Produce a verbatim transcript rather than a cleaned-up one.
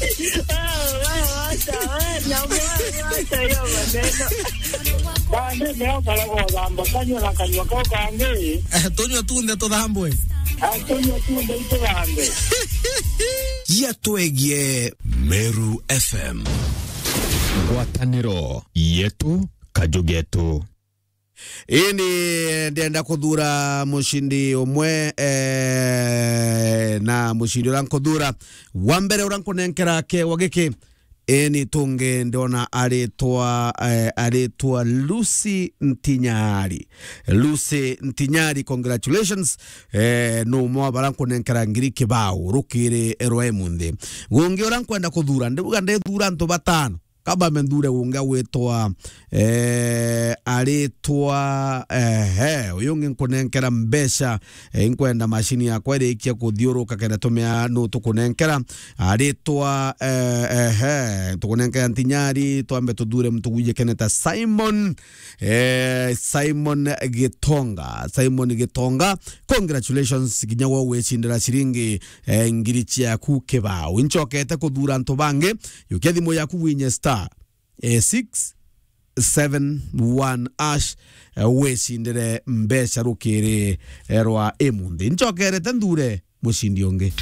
Wewe, wewe, wacha, wewe, nyamwe, wewe, wacha hiyo maneno. Bande, ndio karago thamba, kanywa na kanywa kau kangi. Eh, tunywe tunthe tuthambwe. Ah, tunywe tunthe ituthambwe. Yatwegie Meru F M. Ngwatanĩro yetu, kaju getu. Ini ndenda kuthura mucindi umwe, eh, na mucindi uria nkuthura wa mbere uria nkunenkera kewa giki. Ini tungi ndona aritwa, eh, aritwa Lucy Ntinyari. Lucy Ntinyari, congratulations. Eh, ni umwe wa bara nkunenkera ngiri kibao rukiri rwa imunthi. Gungi uria nkwenda kuthura, ndibuga ndithura antu batano. Kaba menthure ungi agwitwa, eh, aritwa, ehe, uyu ungi nkunenkera mbeca, eh, inkwenda mashini yakwa irikia kuthiuruka kenda tumea nu tukunenkera. Aritwa, eh, ehe, tukunenkera Ntinyari, twambe tuthure muntu gwijikene ta Simon, eh, Simon Gitonga. Simon Gitonga, congratulations, kinya we wicindira ciringi, eh, ngiri ciaku kibao. Incokete kuthura antu bangi, yukia thimu yaku winye star, eh, six seven one hash, eh, wicindire mbeca rukiri, eh, rwa imunthi. Ncokerete nthure mucindi ungi.